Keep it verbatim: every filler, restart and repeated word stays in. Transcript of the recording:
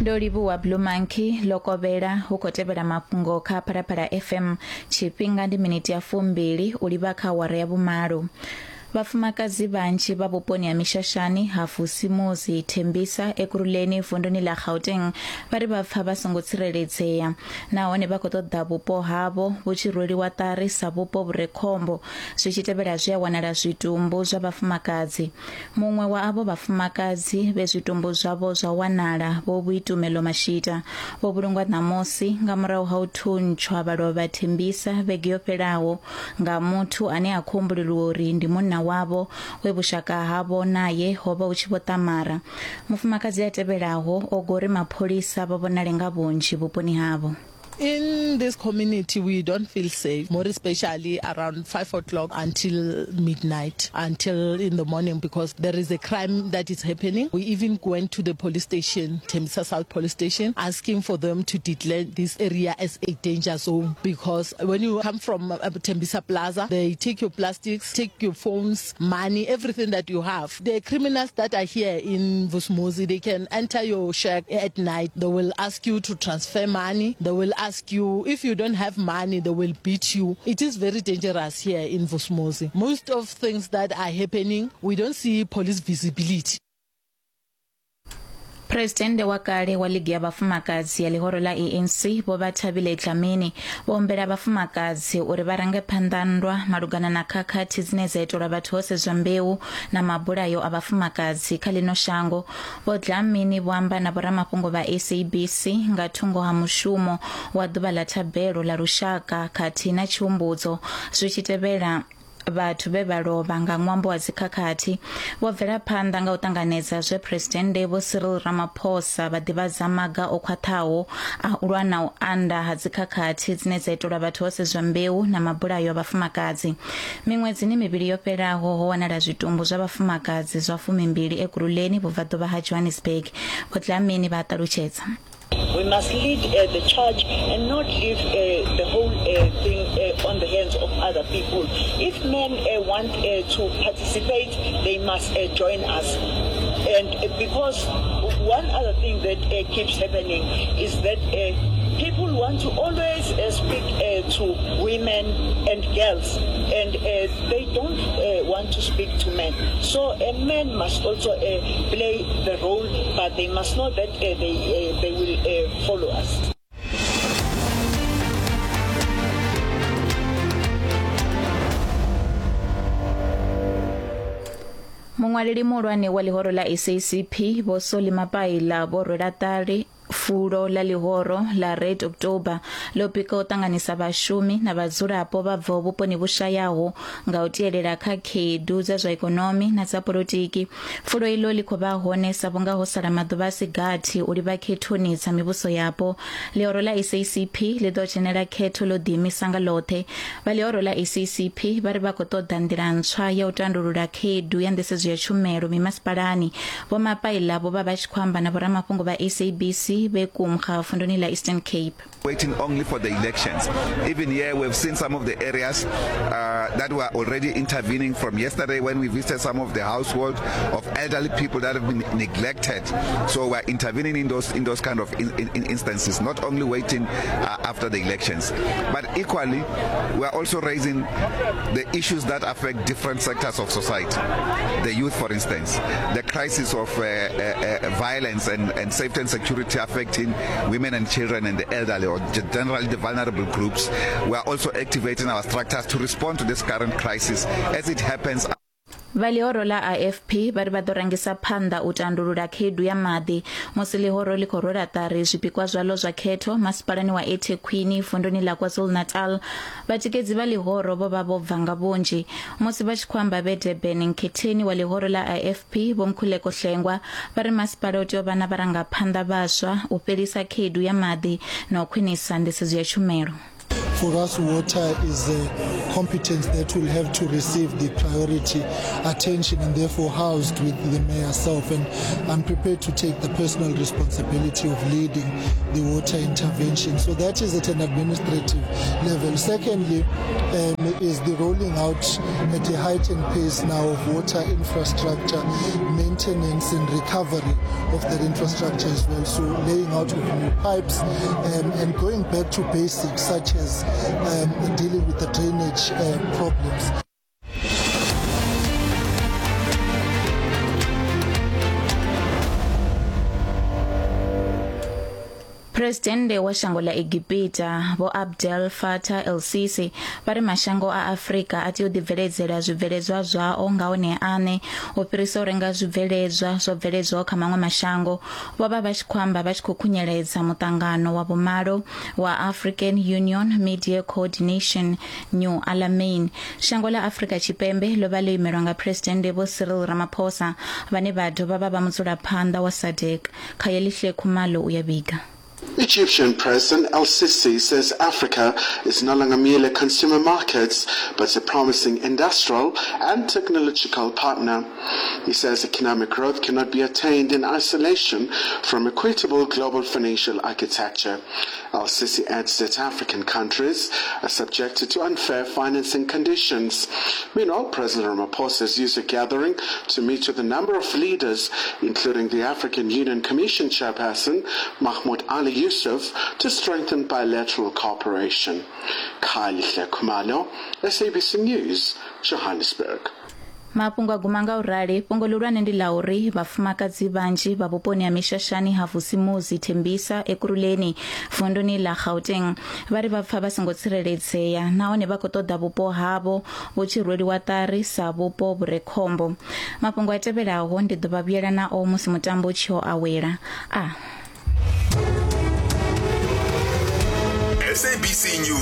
Ndo livhuwa Blue Monkey lokovhela hu khou tevhela mafhungo kha Phalaphala F M. Tshifhinga ndi miniti ya fumbili u livha kha awara ya vhumalo. Vhafumakadzi vhanzhi vha vhuponi ha Mishashani ha Vusimuzi Tembisa Ekurhuleni vunduni ḽa Gauteng vha ri vha pfa vha songo tsireledzea nahone vha khou ṱoḓa vhupo havho vhu tshi rweliwa ṱari sa vhupo vhu re khombo zwi tshi tevhela zwi a wanala zwitumbu zwa vhafumakadzi. Muṅwe wa avho vhafumakadzi vhe zwitumbu zwavho zwa wanala vho Vhuitumelo Mashita vho vhulungwa ṋamusi nga murahu ha u thuntshwa vha lovha Tembisa vhege yo fhelaho nga muthu ane a khou humbulelwa uri ndi munna wavho we vhushaka havho naye ho vha hu tshi vho ṱamara. Mufumakadzi a tevhelaho o gori mapholisa vha vhonale nga vhunzhi vhuponi havho. In this community, we don't feel safe, more especially around five o'clock until midnight, until in the morning, because there is a crime that is happening. We even went to the police station, Tembisa South Police Station, asking for them to declare this area as a danger zone, because when you come from Tembisa Plaza, they take your plastics, take your phones, money, everything that you have. The criminals that are here in Vusimuzi, they can enter your shack at night. They will ask you to transfer money. They will ask you if you don't have money, they will beat you. It is very dangerous here in Vusimuzi. Most of things that are happening, we don't see police visibility. Presidente wa kale wa ligi ya vhafumakadzi ya ḽihoro ḽa A N C vho Bathabile Dlamini vho humbela vhafumakadzi uri vha range phanḓa nndwa malugana na khakhathi dzine dza itelwa vhathu ho sedzwa mbeu na mabulayo a vhafumakadzi kha ḽino shango. Vho Dlamini vho amba na vhoramafhungo vha S A B C nga thungo ha mushumo wa ḓuvha ḽa thabelo ḽa lushaka khathihi na tshihumbudzo zwi tshi tevhela vhathu vhe vha lovha nga ṅwambo wa dzikhakhathi. Vho bvela phanḓa nga u ṱanganedza zwe Presidennde Vho Cyril Ramaphosa vha ḓivhadza maga o khwaṱhaho a u lwa na u anda ha dzikhakhathi dzine dza itelwa vhathu ho sedzwa mbeu na mabulayo a vhafumakadzi. Miṅwedzini mivhili yo fhelaho ho wanala zwitumbu zwa vhafumakadzi zwa fumimbili Ekurhuleni vhubvaḓuvha ha Johannesburg. Vho Dlamini vha ṱalutshedza. We must lead uh, the charge and not leave uh, the whole uh, thing uh, on the hands of other people. If men uh, want uh, to participate, they must uh, join us. And uh, because one other thing that uh, keeps happening is that uh, people want to always uh, speak uh, to women and girls, and uh, they don't uh, want to speak to men. So uh, men must also uh, play the role, but they must know that uh, they, uh, they will uh, follow us. Muṅwaleli muhulwane wa ḽihoro ḽa S A C P Vho Solly Mapaila vho rwela ṱari fulo ḽa ḽihoro ḽa Red October ḽo pika u ṱanganisa vhashumi na vhadzulapo vha bvaho vhuponi vhu shayaho nga u tielela kha khaedu dza zwa ikonomi na dza polotiki. Fulo iḽo ḽi khou vha hone sa vhunga ho sala maḓuvha a si gathi u livha khethoni dza mivhuso yapo. Ḽihoro ḽa S A C P ḽi ḓo dzhenela khetho ḽo ḓiimisa nga ḽoṱhe. Vha ḽihoro ḽa S A C P vha ri vha khou ṱoḓa nḓila ntswa ya u tandulula khaedu ya nḓisedzo ya tshumelo mimasipalani. Vho Mapaila vho vha vha tshi khou amba na vhoramafhungo vha S A B C vhe Kumga vunduni ḽa Eastern Cape. Waiting only for the elections. Even here we've seen some of the areas uh, that were already intervening from yesterday when we visited some of the households of elderly people that have been neglected. So we're intervening in those in those kind of in, in instances, not only waiting uh, after the elections. But equally, we're also raising the issues that affect different sectors of society. The youth, for instance, the crisis of uh, uh, uh, violence and, and safety and security affecting women and children and the elderly, or generally the vulnerable groups. We are also activating our structures to respond to this current crisis as it happens. Vha ḽihoro ḽa A F P vha ri vha ḓo rangisa phanḓa u tandulula khaedu ya maḓi musi ḽihoro ḽi khou rwela ṱari zwipikwa zwaḽo zwa khetho masipalani wa eThekwini vunduni ḽa KwaZulu-Natal. Vhatikedzi vha ḽihoro vho vha vho bva nga vhunzhi musi vha tshi khou amba vhe Durban. Nkhetheni wa ḽihoro ḽa A F P Vho Mkhuleko Hlengwa vha ri masipala u tea u vha na vharangaphanḓa vhaswa u fhelisa khaedu ya maḓi na u khwinisa nḓisedzo ya tshumelo. For us, water is a competence that will have to receive the priority attention and therefore housed with the mayor herself. And I'm prepared to take the personal responsibility of leading the water intervention. So that is at an administrative level. Secondly, um, is the rolling out at a heightened pace now of water infrastructure, maintenance and recovery of that infrastructure as well. So laying out of new pipes um, and going back to basics such as um, dealing with the drainage uh, problems. Presidente wa shango ḽa Egipita Vho Abdel Fattah El-Sisi vha ri mashango a Afrika a tea u ḓibveledzela zwibveledzwa zwao nga one aṋe u fhirisa u renga zwibveledzwa zwo bveledzwaho kha maṅwe mashango. Vho vha vha tshi khou amba vha tshi khou khunyeledza muṱangano wa vhumalo wa African Union Media Coordination New Alamein. Shango ḽa Afrika Tshipembe ḽo vha ḽo imelwa nga Presidente Vho Cyril Ramaphosa vhane vha dovha vha vha mudzulaphanḓa wa SADC. Khayelihle Khumalo u ya vhiga. Egyptian President El-Sisi says Africa is no longer merely a consumer market, but a promising industrial and technological partner. He says economic growth cannot be attained in isolation from equitable global financial architecture. El-Sisi adds that African countries are subjected to unfair financing conditions. Meanwhile, President Ramaphosa has used a gathering to meet with a number of leaders, including the African Union Commission chairperson, Mahmoud Ali Yusuf, to strengthen bilateral cooperation. Khayelihle Khumalo, S A B C News, Johannesburg. Mafhungo a guma nga u rali. Fhungo ḽihulwane ndi ḽa uri vhafumakadzi vhanzhi vha vhuponi ha mishashani ha Vusimuzi Thembisa Ekurhuleni vunduni ḽa Gauteng vha ri vha pfa vha songo tsireledzea nahone vha khou ṱoḓa vhupo havho vhu tshi rweliwa ṱari sa vhupo vhu re khombo. Mafhungo a tevhelaho ndi ḓo vha vhuyela nao musi mutambo u tshi ho awela. A S A B C News.